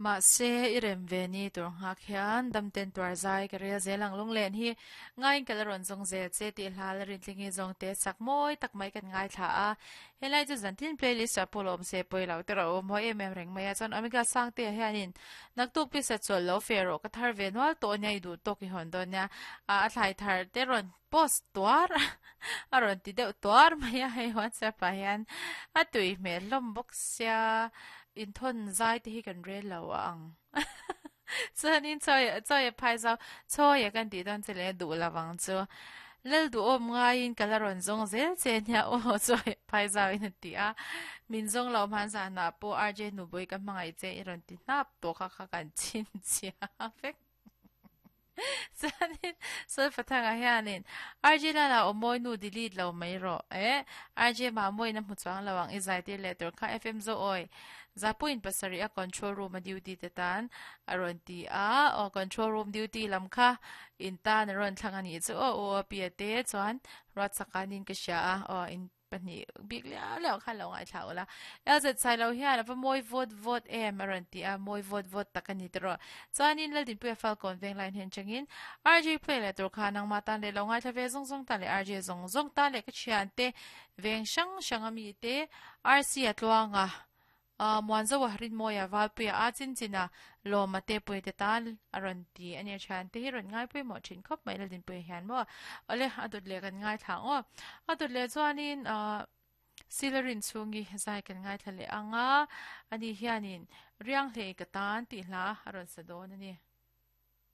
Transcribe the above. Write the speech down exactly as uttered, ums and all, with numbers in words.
Mahse i rem ve ni tur nghak hian damten tuar zai ka rel zel ang lunglen hi ngaiin ka la rawn zawng zel che tih hla la rintling hi zawng te chak mawi tak mai kan ngaithla a. Helai chu zantin playlist ah pawh lawm se pawi lo te rawh u mawi em em reng mai a. Chuan Omega Sangte ah hianin naktuk pisa chawlh lo fe rawh ka thar ve nual tawh nia i duh tawk i hawn dawn nia. A thlai thar te rawn post tuar a rawn ti deuh tuar mai a hei WhatsApp ah hian a tui hmel hlawm bawk sia inthawn zai te hi kan rel lo a ang chuanin chawi chawi a phai zau chawi a kan tih dawn che leh duh lo ang chu lal duhawm ngaiin ka la rawn zawng zel che nia aw chawi a phai zau in a ti a min zawng lo hman zanah pawh R J Nubui ka hmangaih che i rawn ti hnap tawh kha kha kan chhinchhiah vek. Chuanin Solfathanga hianin R J Lala aw mawi nu delete lo mai rawh e R J Mamawin a hmu chuang lo ang i zai tir leh tur kha F M Zo awi Zapuiin pasarih a control room a duty te tan a rawn ti a aw control room duty lam kha in tan a rawn thlang a nih chu aw u a pi a te chuan Ruatsakanin ka hria a aw in pahnih bik liau liau khan lo ngaithla ula. L Z Sailo hian a va mawi vawt vawt em a rawn ti a, mawi vawt vawt tak a ni tawh rawh. Chuanin Laldinpuia Falkawn Vengline hian changin R J play leh tur kha nangmah tan leh lo ngaithla ve zawng zawng tan leh R J zawng zawng tan leh ka thiante veng hrang hrang a mite R C a tluanga Muanzoa Rinmawia Valpuia a chin chin a Lawma te puite tan a rawn ti a nia thian te hi rawn ngai pawimawh thin khawp mai Laldinpuia hian maw awle a dawt leh kan ngaithla ang aw a dawt leh chuanin ah Silarin chhungi zai kan ngaithla leh ang a ani hianin Rianghlei ka tan tih hla a rawn sa dawn a ni.